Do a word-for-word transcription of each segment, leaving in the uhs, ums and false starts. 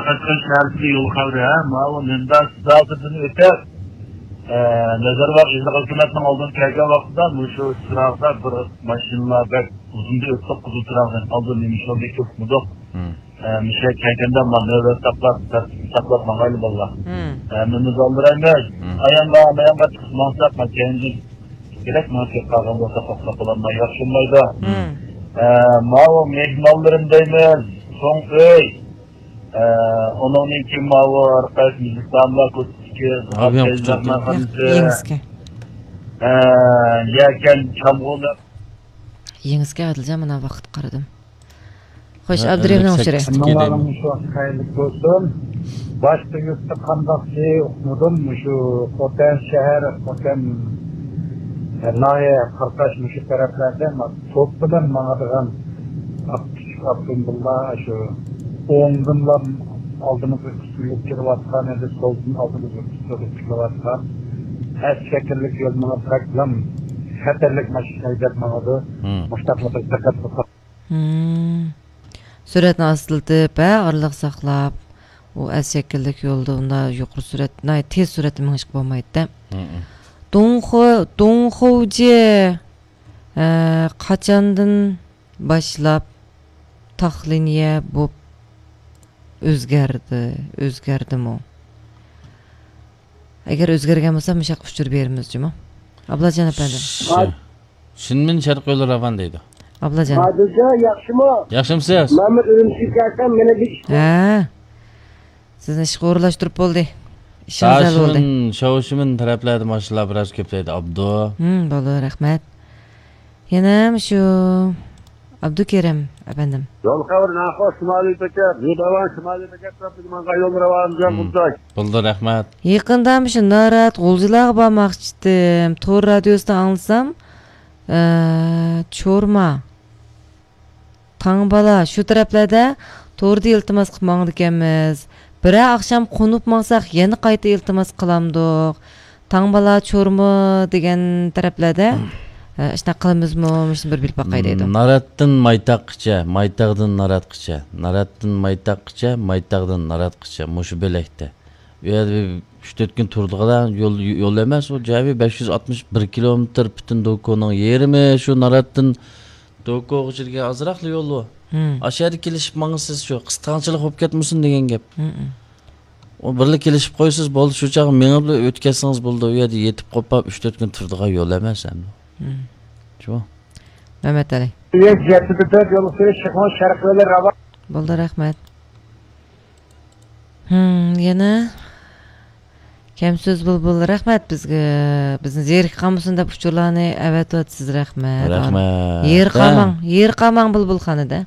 قەشقەر شەھەرچىلىك يول خەۋىرى، ھە، ماۋۇ نىندا سىزاغىدىن ئۆتۈپ، ئە، نەزەرباغ ئىللىق ھۆكۈمەتنىڭ ئالدىدىن كەلگەن ۋاقتىدا مۇشۇ چىراغدا بىر ماشىنىلار بەك ئۇزۇندا ئۆتتۇق، قىزىل چىراغدىن ئالدىن نېمە ئىش بولدى، كۆرمىدۇق. مم. ئە، مۇشۇ كەلگەندە ما نۆۋەت ساقلاپ، تەرتىپنى ساقلاپ ماڭايلى بالىلار. مم. ئە، مېنى ئالدىرايمىز. مم. ئايانغا، مايانغا چىقىپ ماڭساق، ما كەينىدىن كېرەك، ماڭا كېلىپ قالغان بولسا توختاپ قالالماي ياخشىمايدۇ. مم. ئە، ماۋۇ مېھمانلىرىم دەيمىز، چوڭ ئۆي. ئە، ئۇنىڭدىن كېيىن ماۋۇ ھەر قايسى مېھمانلار كوچىسىدىكى ئابىيان ئابدۇلئەزىز قۇتۇلدى. مېھمانخانىسى. يېڭىسكە. ئە، يەكەن چامغۇلۇق. يېڭىسكە ئادىلجان، مانا ۋاقىت قارىدىم. خوش، ھە، ئابدۇرېھىمنىڭ ئەللىك ئۇچۇرى. سەككىز ئەمما كېلىم. مانا مۇشۇ ۋاقىت قەيەرلىك بولسۇن. باشقا يۇرتتا قانداقچى ئۇقمىدىم، مۇشۇ خوتەن شەھەر، خوتەن ناھىيە، قارقاش مۇشۇ تەرەپلەردە توپ بىلەن ماڭىدىغان ئاپتوموبىللار شۇ ئوڭدىنلا ئالدىمىزغا قىستۇرۇلۇپ كېلىۋاتقان، ياكى سولدىن ئالدىمىزغا قىستۇرۇلۇپ كېلىۋاتقان ئەس شەكىللىك يول ماڭا بەكلا خەتەرلىك ماشىنا ھەيدەپ ماڭىدۇ. مم. مۇشتاقلا بىر دىققەت قىلساق. مم. سۈرئەتنى ئاستىلىتىپ، ھە، ئارىلىق ساقلاپ، ئۇ ئەس شەكىللىك يولدا ئۇنداق يۇقىرى سۈرئەت، ناھايىتى تېز سۈرئەتتە مېڭىشقا بولمايدۇ-دە. مم. دۇڭخۇ-، دۇڭخۇجى، ئە، قاچاندىن باشلاپ تاخلىنىيە بوپ ئۆزگەردى، ئۆزگەردىمۇ؟ ئەگەر ئۆزگەرگەن بولسا، مۇشۇ ياققا ئۇچۇر بېرىمىز جۇمۇ. ئابلاجان ئەپەندىم. ش-، شىنمىن شەرقىي يولى راۋان دەيدۇ. ئابلاجان. ئادىلجان، ياخشىمۇ؟ ياخشىمسىز؟ مەنمۇ ئۈرۈمچىگە كەلسەم، مېنى بىر ئىش بار. ھە. سىزنى ئىشقا ئورۇنلاشتۇرۇپ بولدى. ئىشىڭىز ھەل بولدى. داشىمىن، شاۋشىمىن تەرەپلەردە ماشىنىلار بىراز كۆپلەيدۇ، ئابدۇ. ھىم، بولدى، رەھمەت. يەنە مۇشۇ ئابدۇكېرىم ئەپەندىم. يول خەۋىرى ناخۇش شىمالىي بېكەت، يۇداۋان شىمالىي بېكەت تەرەپىگە ماڭغان يول راۋان جان بولساك. بولدى، رەھمەت. يېقىندا مۇشۇ نارات غۇلجىلارغا بارماقچىدىم. تور رادىيوسىدا ئاڭلىسام، ئە، چورما، تاڭبالا شۇ تەرەپلەردە توردا ئىلتىماس قىلىپ ماڭىدىكەنمىز. بىرەر ئاخشام قونۇپ ماڭساق يەنە قايتا ئىلتىماس قىلامدۇق. تاڭبالا، چورما دېگەن تەرەپلەردە، ئە، ئىشۇنداق قىلىمىزمۇ؟ مۇشۇنى بىر بىلىپ باقاي دەيدۇ. ناراتتىن مايتاغقىچە، مايتاغدىن ناراتقىچە، ناراتتىن مايتاغقىچە، مايتاغدىن ناراتقىچە، مۇشۇ بۆلەكتە. ئۇ يەردە بىر ئۈچ تۆت كۈن تۇرىدىغان يول، يول ئەمەس، ئۇ جايى بەش يۈز ئاتمىش بىر كىلومېتىر، پۈتۈن دوكونىڭ يېرىمى شۇ ناراتتىن دوكوغىچە دېگەن ئازراقلا يول ئۇ. ھىم. ئاشۇ يەردە كېلىشىپ ماڭىسىز، شۇ قىستاڭچىلىق بولۇپ كەتمىسۇن دېگەن گەپ. ھىم، ھىم. ئۇ بىرلا كېلىشىپ قويىسىز، بولدى، شۇ چاغ مېڭىپلا ئۆتكەزسىڭىز بولىدۇ، ئۇ يەردە يېتىپ قوپاپ ئۈچ تۆت كۈن تۇرىدىغان يول ئەمەس ئەمدى. ھىم. شۇ. مەمەتئەلى. يەتتە تۆت يول ئۈستىدە شىخمۇ شەرقىي يولى راۋان. بولدى، رەھمەت. ھىم، يەنە كەم سۆز بۇلبۇل، رەھمەت بىزگە، بىزنى زېرىكىپ قالمىسۇن دەپ ئۇچۇرلارنى ئەۋەتىۋاتىسىز، رەھمەت. رەھمەت. يېرى قالماڭ، يېرى قالماڭ بۇلبۇلخانىدا.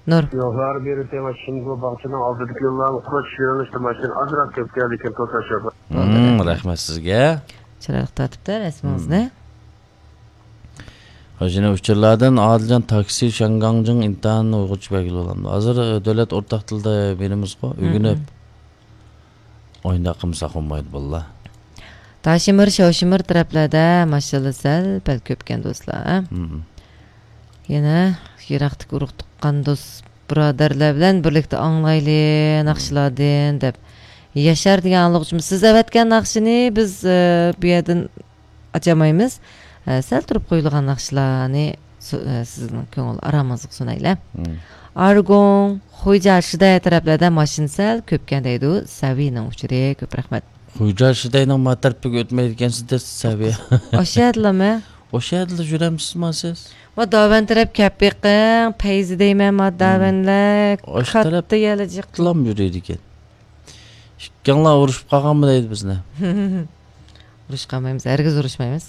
نۇر. يوللار بېرى تېما شىنگۇ باغچىنىڭ ئالدىدىكى يوللارنى قۇرۇش يۆنىلىشتە ماشىنا ئازراق كۆپ كەلدىكەن، توساش يوق. ھىم، رەھمەت سىزگە. چىرايلىق تارتىپتۇ رەسىمىڭىزنى. ھىم. خەزىنە ئۇچۇرلاردىن ئادىلجان تاكسى شياڭگاڭجىڭ ئىنتان ئۇيغۇرچە بەلگىلى بولامدۇ؟ ھازىر، ئە، دۆلەت ئورتاق تىلدا بېرىمىزغۇ، مم، ئۆگىنىپ. مم. ئويۇنداق قىلمىساق بولمايدۇ، بالىلار. داشىمىر، شاۋشىمىر تەرەپلەردە ماشىنىلار سەل پەل كۆپكەن، دوستلار، ھە؟ مم. يەنە يىراقتىكى ئۇرۇق تۇغقان دوست بۇرادەرلەر بىلەن بىرلىكتە ئاڭلايلى، مم، ناخشىلاردىن دەپ. ياشار دېگەن ئاڭلىغۇچىمىز، سىز ئەۋەتكەن ناخشىنى بىز، ئە، بۇ يەردىن ئاچالمايمىز. ئە، سەل تۇرۇپ قويۇلغان ناخشىلارنى سۇ-، ئە، سىزنىڭ كۆڭۈل ئارامىڭىزغا سۇنايلى. مم. ئارگوڭ، خۇيجا، شىدايە تەرەپلەردە ماشىنا سەل كۆپكەن دەيدۇ سەۋىنىڭ ئۇچۇرى. كۆپ رەھمەت. خۇيجا، شىداينىڭ ما تەرىپىگە ئۆتمەيدىكەنسىز دەيسىز سەۋىيە. ئاشۇ يەردىلەرمۇ؟ ئاشۇ يەردىلا يۈرەمسىز ما سىز؟ ۋە داۋەن تەرەپ كەپ بېقىڭ، پەيزى دەيمەن، ما، مم، داۋەنلەر ئاشۇ كاتتا تەرەپ يەلە جىق. تىلام يۈرىدىكەن. ئىككىڭلار ئۇرۇشۇپ قالغانمۇ دەيدۇ بىزنى. ئۇرۇشۇپ قالمايمىز، ھەرگىز ئۇرۇشمايمىز.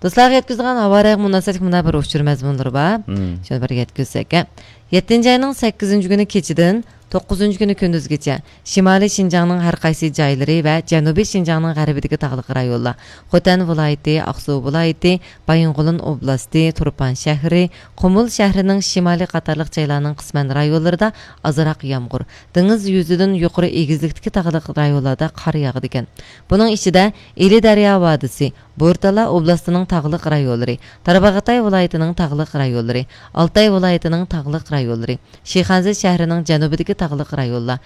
دوستلارغا يەتكۈزىدىغان ھاۋا رايىغا مۇناسىۋەتلىك مۇنداق بىر ئۇچۇر مەزمۇنلىرى بار. مم. شۇنى بىر يەتكۈزسەك. يەتتىنچى ئاينىڭ سەككىزىنچى كۈنى كېچىدىن توققۇزىنچى كۈنى كۈندۈزگىچە شىمالىي شىنجاڭنىڭ ھەر قايسى جايلىرى ۋە جەنۇبىي شىنجاڭنىڭ غەربىدىكى تاغلىق رايونلار، خوتەن ۋىلايىتى، ئاقسۇ ۋىلايىتى، بايىنغولىن ئوبلاستى، تۇرپان شەھىرى، قۇمۇل شەھىرىنىڭ شىمالى قاتارلىق جايلارنىڭ قىسمەن رايونلىرىدا ئازراق يامغۇر، دېڭىز يۈزىدىن يۇقىرى ئېگىزلىكتىكى تاغلىق رايونلاردا قار ياغىدىكەن. بۇنىڭ ئىچىدە ئىلى دەريا ۋادىسى، بورتالا ئوبلاستىنىڭ تاغلىق رايونلىرى، تارباغاتاي ۋىلايىتىنىڭ تاغلىق رايونلىرى، ئالتاي ۋىلايىتىنىڭ تاغلىق رايونلىرى، شىخەنزە شەھىرىنىڭ جەنۇبىدىكى تاغلىق رايونلار،